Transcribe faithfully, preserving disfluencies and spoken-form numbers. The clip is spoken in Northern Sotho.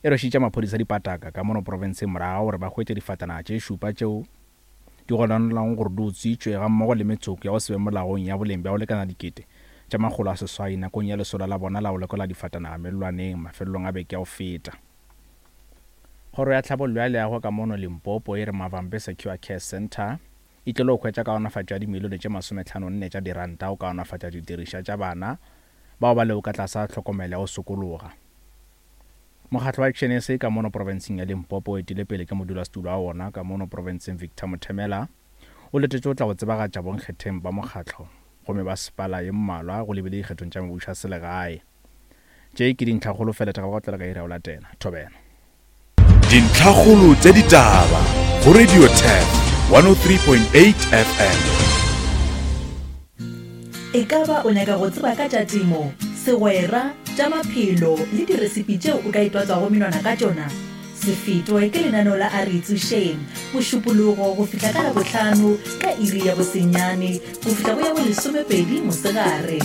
E rwešitše maphodisa dipataka ka mono profenseng morago ga gore ba hwetše difatanaga tše šupa tšeo di gononelwago gore di utswitšwe gammogo le metsoko ya go se be molaong ya boleng bja go lekana dikete tša makgolo a seswai nakong ya lesolo la bona la go lekola difatanaga mellwaneng mafelelong a beke ya go feta. Kgoro ya Tlhabollo ya Leago ka mono Limpopo e re Mavambe Secure Care Centre e tlilo hwetša kaonafatšo ya dimilione tše masometlhano nne tša diranta go kaonafatša didirišwa tša bana bao ba lego ka tlase ga tlhokomelo ya go sokologa. Mokgatlo wa Action SA ka mono profenseng ya Limpopo o etile pele ke modulasetulo wa wona ka mono profenseng Victor Mothemela o letetše go tla go tsebagatša bonkgetheng ba mokgatlo go mebasepala ye mmalwa go lebile dikgethong tša mebušo ya selegae. Tše ke dintlhakgolo fela tša go tlela ka iri ya go latela. Thobela. Dintlhakgolo tša ditaba go Radio Turf one oh three point eight F M. E ka ba o nyaka go tseba ka tša temo, segwera, tša maphelo le diresipi tšeo o ka itwatswago menwana ka tšona? Se fetwe ke lenaneo la A Re Itsošeng, Mošupologo go fihla ka Labohlano ka iri ya bosenyane go fihla go ya bolesomepedi mosegare.